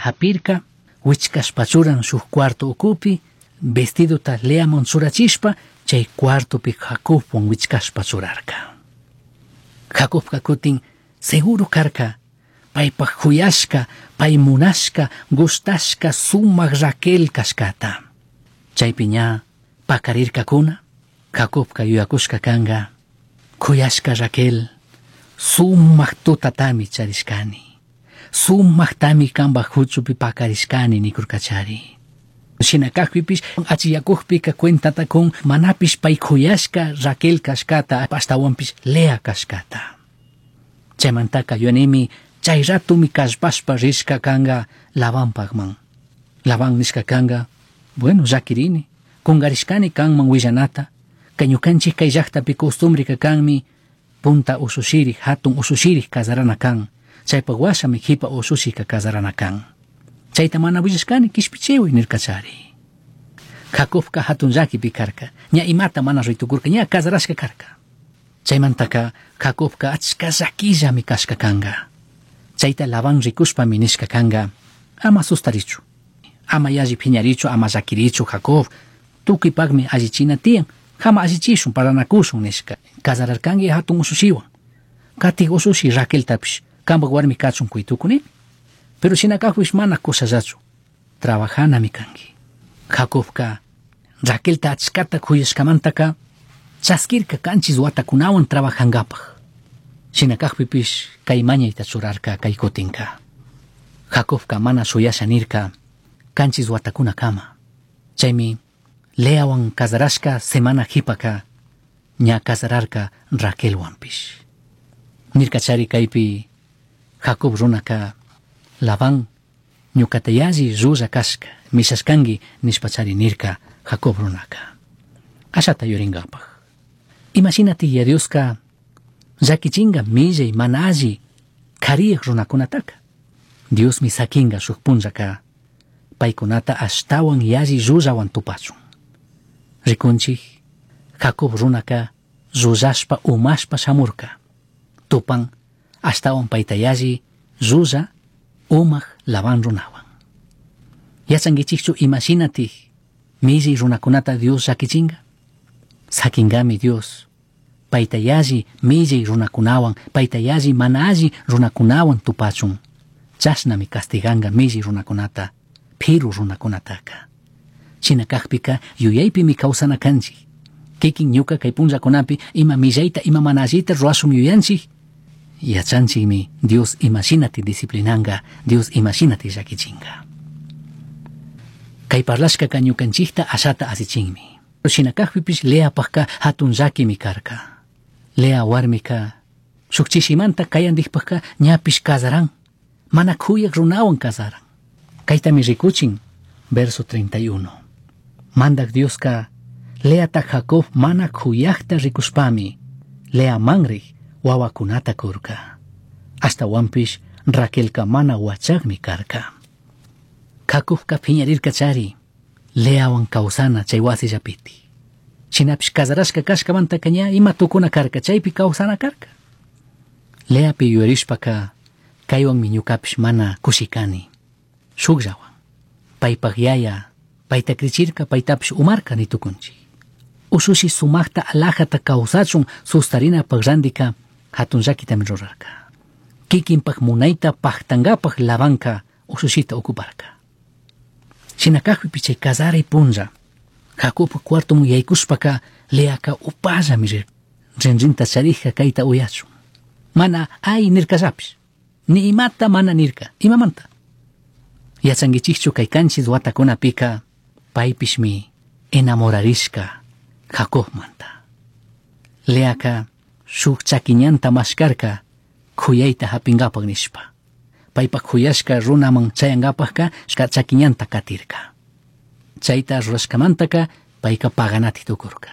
Japirca, huichcashpa churan shuj cuarto ucupi, vestidota Leaman churachishpa, chay cuartopi Jacobwan huichcashpa churarca. Jacobca cutin seguro carca, paypaj juyashca, pay munashca, gustashca sumaj Raquel cashcata. Chaypi ña pacarircacuna, Jacobca yuyacushca canga, juyashca Raquel, sumaj tutatami charishcani. Sumajtami cambaj huchupi pacarishcani nikurkachari. Shina kajpipish achiyakujpika cuentata kun manapish pay juyashka Raquel kashkata ashtawanpish Lea kashkata. Chaymantaka yuyanimi chay ratumi kallpashpa rishka kanga Labanpakman. Labán nishka kanga, bueno, llakirini, kungarishkani kanman willanata, kay ñukanchik kay llaktapi costumbreka kanmi punta usushiri, hatun usushiri kazarana kan. Chaypak washami jipa usushika kazarana kan. Chayta mana willashkani kishpichiwi nirkachari. Jacobka hatun llakipi karka, ña imata mana ritukurka, ña kazarashka karka. Chaymantaka Jacobka achka llakillami kashka kanga. Chayta Labán rikushpami nishka kanga, ama sustarichu, ama yalli phiñarichu, ama llakirichu Jacob, tukuypakmi allichina tiyan, hama allichishun, parlanakushun nishka. Kazararkanki hatun usushiwan. Katik usushi Raqueltapish, kampak warmi kachun kuytukuni. Pero shina kajpish mana kushallachu, trabajanami kanki. Jacobka Raquelta achkata kuyashkamantaka chaskirka kanchis watakunawan trabajankapaj. Shina kajpipish kay mañayta churarka kay kutinka. Jacobka mana shuyasha nirka kanchis watakunakama. Chaymi Leawan kazarashka semana jipaka ña kazararka Raquelwanpish. Nirkachari kaypi Jacob runaka Labán ñukata yalli llulla kashka mishashkanki nishpachari nirka Jacob runaka. Ashata yurinkapaj. Imashinati ya Dioska llakichinga millay mana alli kariyaj runakunataka. Diosmi sakinga shuk punllaka paykunata ashtawan yalli llullawan tupachun. Rikunchik Jacob runaka llullashpa umashpa shamurka. Tupan ashtawan payta yalli llulla umaj Labán runawan. Yachankichikchu imashinatik millay runakunata Dios llakichinga? Sakingami Dios payta yalli millay runakunawan, payta yalli mana alli runakunawan tupachun. Chashnami castiganga millay runakunata, piru runakunataka. Shina kajpika yuyaypimi kawsana kanchik. Kikin ñuka kay punllakunapi ima millayta ima mana allita ruwashun yuyanchik. Yachanchikmi Dios imashinati disciplinanga, Dios imashinati llakichinga. Kay parlashkaka ñukanchikta ashata asichinmi. Shina kajpipish Leapajka hatun llakimi karka. Lea warmika shuk chishimanta kayandikpajka ñapish kazaran, mana kuyak runawan kazaran. Kaytami rikuchin, verso 31. Mandak Dioska Leata Jacob mana kuyakta rikushpami, Lea manrik wawakunata kurka. Ashtawanpish Raquelka mana wachakmi karka. Jacobka phiñarirka chari, Leawan kawsana chay wasillapiti. Shinapish kazarashka kashkamantaka ña ima tukuna karka, chaypi kawsana karka. Leapi yuyarishpaka kaywanmi ñukapish mana kushikani. Shukllawan. Paypak yaya, payta krichirka, paytapish umarka nitukunchik. Ushushi sumajta alajata kawsachun sustarinapaj randika hatun llakitami rurarka. Kikinpak munayta paktankapaj Labanka ushushita ocuparka. Shina kajpipi chay kazaray punlla, Jacobpa cuartoman yaykushpaka Leaka upallami rirka. Rinrinta charijka kayta uyachun. Mana ay nirkallapish. Ni imata mana nirka. Imamanta? Yachankichikchu kay kanchis watakunapika paypishmi enamorarishka Jacobmanta. Leaka shuk chakiñanta mashkarka kuyayta hapinkapak nishpa. Paypak kuyashka runaman chayankapakka chakiñanta katirka. Chayta rurashkamantaka payka paganati tukurka.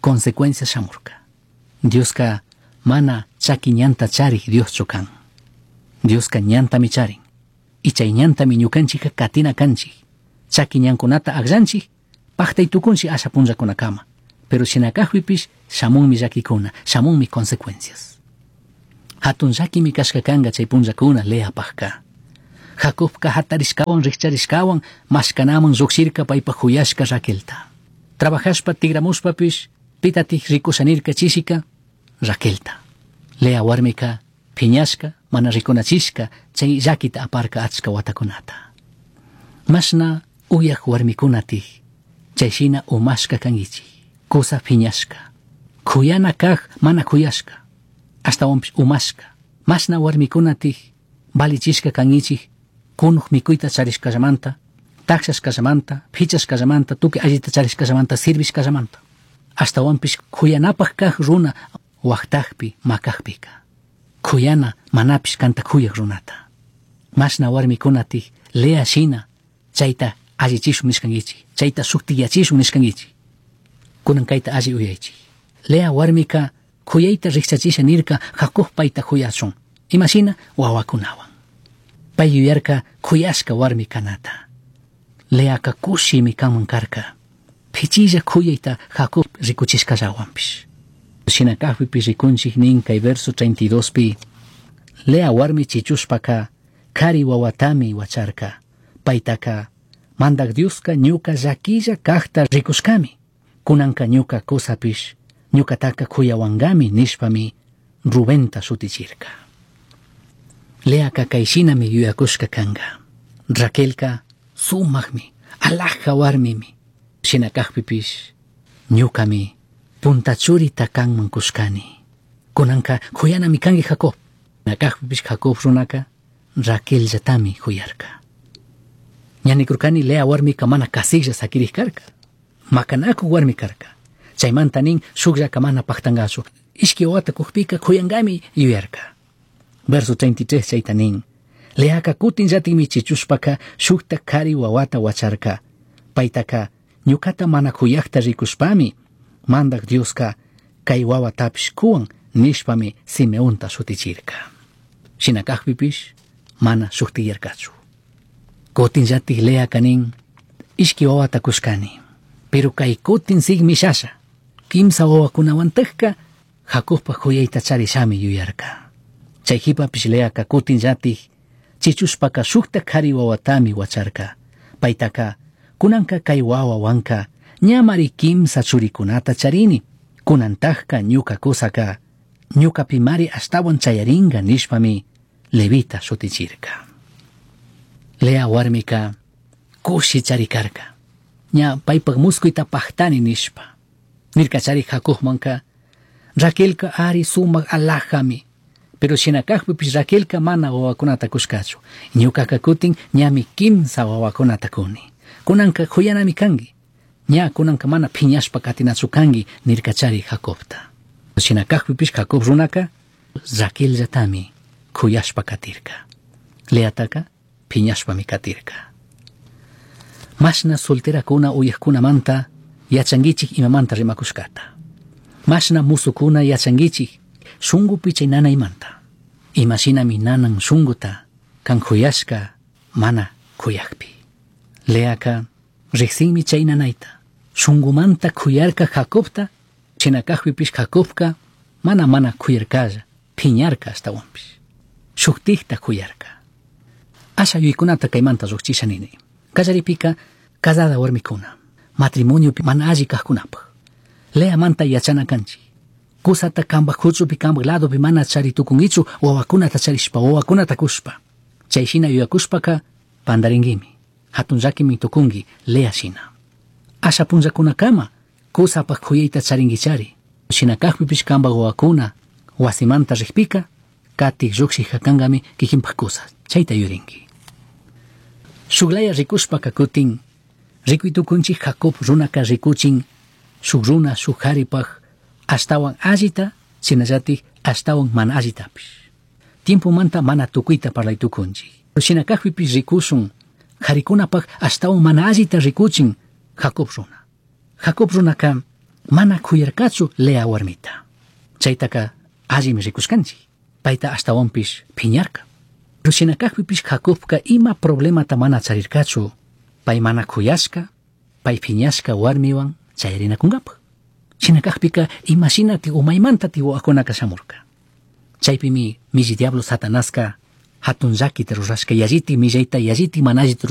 Consecuencia shamurka. Dioska mana chakiñanta charik Dioschu kan. Dioska ñantami charin. Y chay ñantami ñukanchikka katina kanchik. Chaki ñankunata akllanchik, paktay tukunchik asha punllakunakama. Pero shina kajpipish shamunmi llakikuna, shamunmi consecuencias. Hatun llakimi kashka kanga chay punllakuna Leapajka. Jacobka hatarishkawan rikcharishkawan mashkanaman llukshirka paypak huyashka Raquelta. Trabajashpa tigramushpapish pitatik rikushanirka chishika Raquelta. Lea warmika piñashka mana rikunachishka chay llakita aparka achka watakunata. Mashna uyak warmikunatik chayshina umashka kankichik, kusa piñashka. Kuyana kaj mana kuyashka, ashtawanpish umashka. Mashna warmikunatik valichishka kankichik kunuj mikuyta charishkallamanta, takshashkallamanta, pichashkallamanta, tukuy allita charishkallamanta, sirvishkallamanta. Ashtawanpish kuyanapaj kaj runa waktakpi makajpika. Kuyana manapish kanta kuyak runata. Mashna warmikunatik Lea shina chayta allichishun nishkankichik, chayta shuktiyachishun nishkankichik. Kunan kayta alli uyaychik. Lea warmika kuyayta rikchachisha nirka Jacob payta kuyachun. Imashina wawakunawan. Pay yuyarka kuyashka warmi kanata. Leaka kushimi kanman karka. Pichilla kuyayta Jacob rikuchishkallawanpish. Shina kajpipish rikunchik nin kay verso 32 pi. Lea warmi chichushpaka kari wawatami wacharka. Paytaka mandak Dioska ñuka llaquilla kajta rikushkami. Kunanka ñuka kusapish ñukataka kuyawankami nishpami Rubenta shutichirka. Leaka kayshinami yuyakushka kanka. Raquelka sumakmi, alhaja warmimi. Shina kajpipish ñukami punta churita kanman kushkani. Kunanka kuyanami kanki Jacob. Shina kajpipish Jacob runaka Raquelllatami kuyarka. Ñanikurkani Lea warmika mana kasiklla sakirik karka. Makanakuq warmi karka. Chaymanta nin shukllaka mana paktankachu. Ishki wawata kukpika kuyankami yuyarka. Verso 33 chayta nin. Leaka kutin llatikmi chichushpaka shukta kari wawata wacharka. Paytaka ñukata mana kuyakta rikushpami mandak Dioska kay wawatapish kuwan nishpami Simeonta shutichirka. Shina kajpipish mana shuktiyarkachu. Kutin llatik Leaka nin ishki wawata kushkani. Pero kay kutin sigmishasha. Kimsa wawakunawantakka Jacobpa kuyayta charishami yuyarka. Chay jipapish Leaka kutin llatik chichushpaka shukta kari wawatami wacharka. Paytaka kunanka kay wawawanka ñamari kimsa churikunata charini. Kunantajka ñuka kusaka ñukapimari ashtawan chayaringa nishpami Levita shutichirka. Lea warmika kushi charikarka. Ña paypak muskuyta paktani nishpa. Nirka chari Jacobmanka Raquelka ari sumak alhajami. Pero shina kajpipish Raquelka mana wawakunata kushkachu. Ñukaka kutin ñami kimsa wawakunata kuni. Kunanka kuyanami kanki. Ña kunanka mana piñashpa katinachu kanki nirka chari Jacobta. Shina kajpipish Jacob runaka Raquelllatami kuyashpa katirka. Leataka piñashpami katirka. Mashna solterakuna uyakkunamanta yachankichik imamanta rimakushkata. Mashna musukuna yachankichik shunkupi chay nanaymanta. Imashinami nanan shunkuta kan kuyashka mana kuyakpi. Leaka riksinmi chay nanayta. Shunkumanta kuyarka Jacobta, shina kajpipish Jacobka mana mana kuyarkalla, piñarka ashtawanpish. Shuktikta kuyarka. Asha yuykunata kaymanta llukchisha nini. Kallaripika casada warmikuna, matrimoniopi mana alli kajkunapaj. Leamanta yachana kanchik. Kusata kanpak huchupi kanpak ladopi mana chari tukunkichu wawakunata charishpa, wawakunata kushpa. Chay shina yuyakushpaka pandaringuimi. Hatun llakimi tukunki Lea shina. Asha punllakunakama kusapak kuyayta charinkichari. Shina kajpipish kanpak wawakuna wasimanta rikpika katik llukshik kankami kikinpak kusa. Chayta yurinki. Shuklaya rikushpaka kutin rikuy tukunchik Jacob runaka rikuchin shuk runa shuk karipaj ashtawan allita shinallatik ashtawan mana allitapish. Tiempomanta mana tukuyta parlay tukunchik. Shina kajpipish rikushun karikunapaj ashtawan mana allita rikuchin Jacob runa. Jacob runaka mana kuyarkachu Lea warmita. Chaytaka allimi rikushkanchik. Payta ashtawanpish piñarka. Pero shina kajpipish Jacobka ima problemata mana charirkachu pay mana kuyashka, pay piñashka warmiwan chayarinakunkapaj. Shina kajpika imashinati umaymanta wawakunaka shamurka. Chaypimi milli diablo Satanaska Hatun llaquita rurashca yallitik millaita yallitik mana allita.